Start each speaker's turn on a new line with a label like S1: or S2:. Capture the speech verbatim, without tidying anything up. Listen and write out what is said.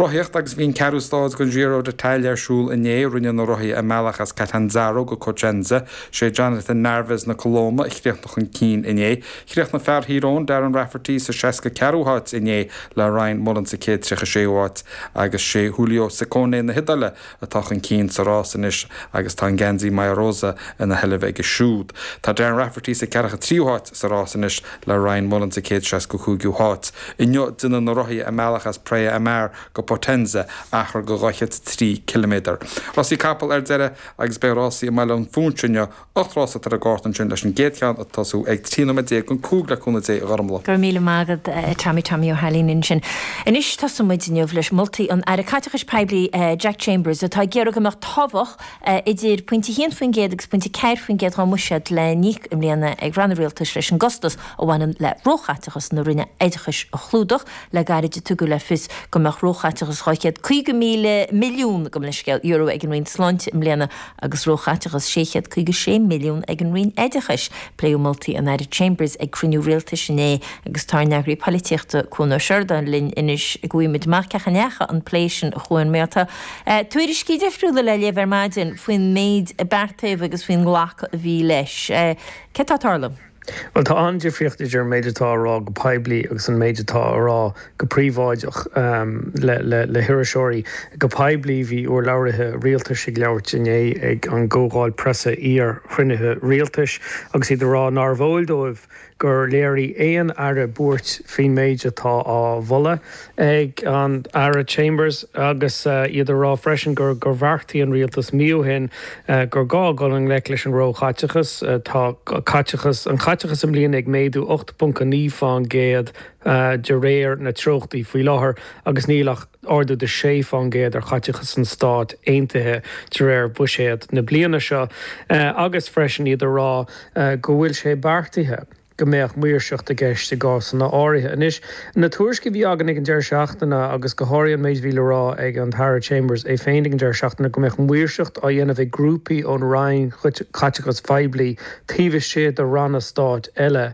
S1: Rothaíocht agus bhí an ceathrú stáid den Giro d'Italia ar siúl inné rinne na rothaithe a mbealach as Catanzaro go Cosenza sé Jonathan Narvaez na Colóime a chríochnaigh chun cinn inné. Chríochnaigh fear Thír Eoghain Darren Rafferty sa seasca ceathrú háit inné le Ryan Mullen sa céad tríocha séú háit agus sé Giulio Ciccone na hIodáile atá chun cinn sa rás anois agus tá an geansaí maglia rosa ina sheilbh aige siúd. Tá Darren Rafferty sa ceathracha tríú háit sa rás anois le Ryan Mullen sa céad seasca cúigiú háit. Inniu déanfaidh na rothaithe a mbealach as Praia a Mar go Potenza achar de dhá chéad trí kilometer. Rásaí capall ar deireadh agus beidh rásaí i mBaile an Phúinse inniu ocht rás ar an gcárta ansin leis an gcéad cheann ag tosú ag trí nóiméad déag chun cúig le cúnamh Dé a Ghormfhlaith.
S2: Gur míle mágad eh, Tommy Tommy Ó hAilín ansin. Anois tosóimid inniu leis moltaí an Aire Caiteachais Poiblí eh, Jack Chambers atá ag iarraidh go mbeadh tobhach eh, idir pointe haon faoin gcéad agus pointe ceathair faoin gcéad den bhuiséad le n-íoc i mbliana ag ranna rialtais leis an gcostas a bhaineann le róchaiteachas na Roinne Oideachais a chlúdach le gairid a tugadh le fios go mbeadh róchaiteachas dhá chéad caoga míle milliún go scéal euro ag an Roinn Sláinte i mbliana agus róchaiteachas sé chéad caoga sé milliún ag an Roinn Oideachais. Pléadh moltaí an Aire Chambers ag cruinniú rialtais inné agus tá ár n-eagraí polaitíochta Cuan Ó Seireadáin linn anois go bhfuimid maceacha an plé sin a chuan méta. Uh, Tuairiscí difriúla le léamh ar maidin faoin méid a beartaíodh agus faoin nglacadh a bhí leis. Uh, Cé tá tarla?
S3: Well tá an-difríocht idir an méid atá á rá go poiblí agus an méid atá á rá go príobháideach um, le, le, le hiriseoirí. Go poiblí bhí urlabhraithe rialtais ag labhairt inné ag an gcomhdháil preasa iar-chruinnithe rialtais agus iad ag rá nárbh eol dóibh gur léirigh aon aire buairt faoin méid atá á mholadh ag an Aire Chambers agus uh, iad ag rá freisin gur gur bheartaigh an rialtas mí ó shin uh, gur gá dul i ngleic leis an róchaiteachas uh, tá caiteachas an caiteachas i mbliana ag méadú ocht ponc naoi faoin gcéad uh, de réir na treochtaí faoi láthair agus níl ach ardú de sé faoin gcéad ar chaiteachas an stáit aontaithe de réir buiséad na bliana seo uh, agus freisin iad ag rá uh, go bhfuil sé beartaithe go mbeadh maoirseacht i gceist i gcásanna áirithe. Anois na tuairiscí a bhí againn ag an deireadh seachtaine agus go háirithe an méid a bhí le rá ag an Aire Chambers é féin ag an deireadh seachtaine go mbeadh maoirseacht á dhéanamh ag grúpaí ón Roinn Caiteachais Phoiblí taobh istigh de ranna stáit eile.